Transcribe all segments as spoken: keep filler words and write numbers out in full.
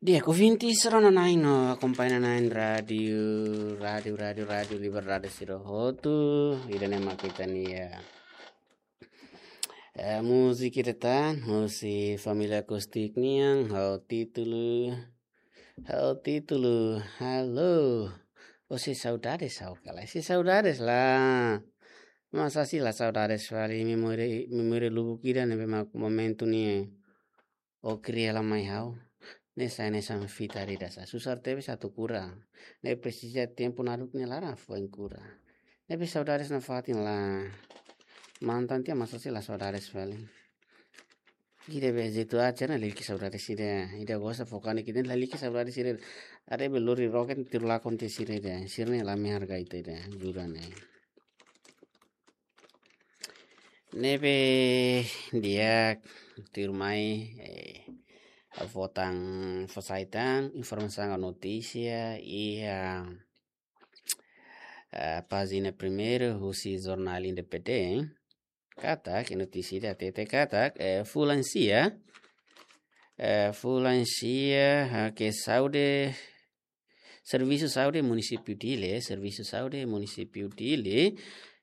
Di'ak, ouvinte sira-na'in no akompaña-na'in rádiu, rádiu, rádiu, rádiu Liberdade sira hotu, ida-ne'e mak ita-nia, eh, múzika ida tan, husi família Acústica nian, ho títulu, ho títulu, Halo. Ó sei saudades ha'u ka lae? Sei saudades lae. Masa sei la saudades fali, memória, memória lubuk ida ne'ebé mak momentu ne'e ó kria lai mai ha'u. Ne'e sai hanesan fita ida sá. Susar tebes atu kura. Ne'e presiza tempu naruk nia laran foin kura. Ne'ebé saudades nafatin lae. Mantan tiha masa sei la saudades fali. Ida be jeitu aja ne'e lalika saudades sira. Ida gosta fokane kita lalika saudades sira. Ade be lori roket tiru lakon tiha sira ida. Sira ne'e la menghargai ita ida. Jura ne'e. Ne'ebé di'ak tuirmai, eh, fó tan fó sai tan informasaun ka notísia iha, eh, pájina primeira husi Jornál Independente. Katak iha notísia ida hatete katak, eh, fulan sia, eh, fulan sia, ah, ke saúde, Servisu Saúde Munisípiu Dili, Servisu Saúde Munisípiu Dili,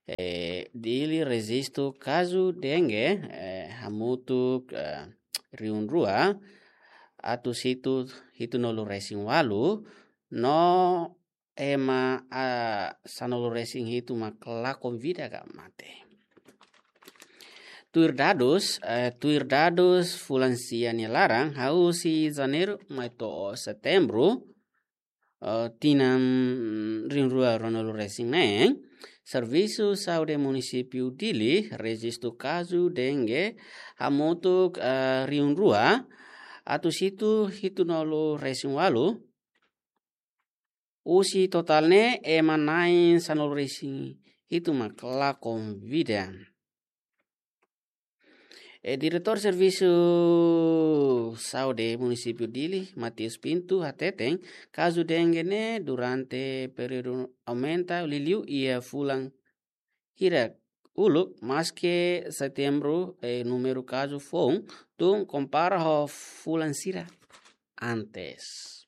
eh, Dili rejistu kazu dengue, eh, hamutuk, eh, rihun rua atus hitu, hitunulu resin ualu, no ema, ah, sanulu resin hitu mak lakon vida ka mate. Tuir dadus, eh, tuir dadus fulan sia nia laran, husi Janeiru mai to'o Setembru, eh, tinan rihun rua ruanulu resin neen, Servisu Saúde Munisípiu Dili rejistu kazu dengue hamutuk, eh, rihun rua atus hitu, hitunulu resin ualu, husi totál ne'e ema na'in sanulu resin hitu mak lakon vida. E Diretór Servisu Saúde Munisípiu Dili, Mateus Pinto, hateten, kazu dengue ne'e durante períodu aumenta liuliu iha fulan hirak uluk, maske Setembru, eh, númeru kazu foun tun kompara ho fulan sira antes.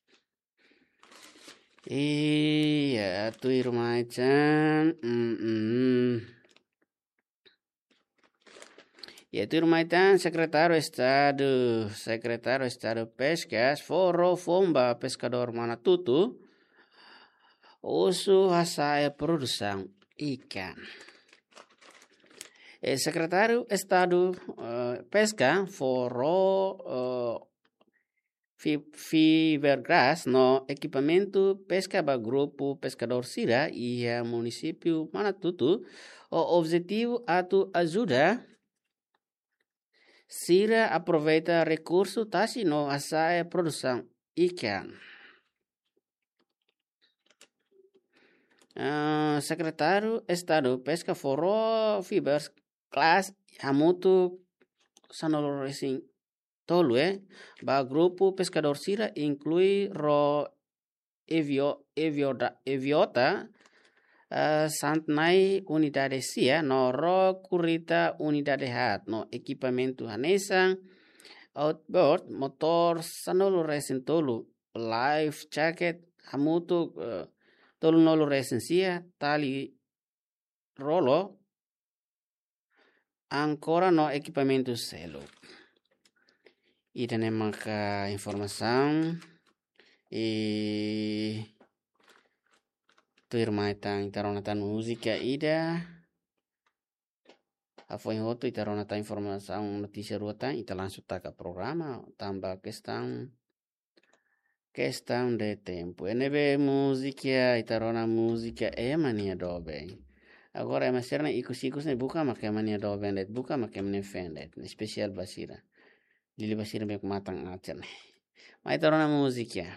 Iha, tuirmai tan, mm, mm. Iha, tuirmai tan, Sekretáriu Estadu, Sekretáriu Estadu Peskas, fó ró foun ba peskadór Manatutu, husu hasa'e produsaun ikan. E Sekretáriu Estadu, eh, Peska, fó ró, eh, Fi-, fiberglass no ekipamentu peska ba grupu peskadór sira iha Munisípiu Manatutu, ho objetivu atu ajuda sira aproveita rekursu tasi no hasa'e produsaun ikan. Ah, Sekretáriu Estadu Peska fó ró fiberglass hamutuk sanulu resin tolu, eh, ba grupu peskadór sira inklui ró Evio-, Evioda-, Eviota, eh, Santnai unidade sia, no ró Kurita unidade haat, no ekipamentu hanesan, outboard, motór sanulu resin tolu, life jacket, hamutuk, eh, tolunulu resin sia, tali rolo, ankora no ekipamentu seluk. Ida-ne'e maka informasaun, i tuirmai tan ita rona tan múzika ida. Hafoin hotu ita rona tan informasaun notísia rua tan, ita langsung taka programa, tanba kestaun, kestaun de tempu. Ne'ebé múzika, ita rona múzika ema nia doben. Agora ema sira-ne'e ikus-ikus ne'e buka mak ema nia doben de'it, buka mak ema nia feen de'it. Espesiál ba sira. Liuliu ba sira ne'ebé matan acer ne'e. Mai ita rona múzika.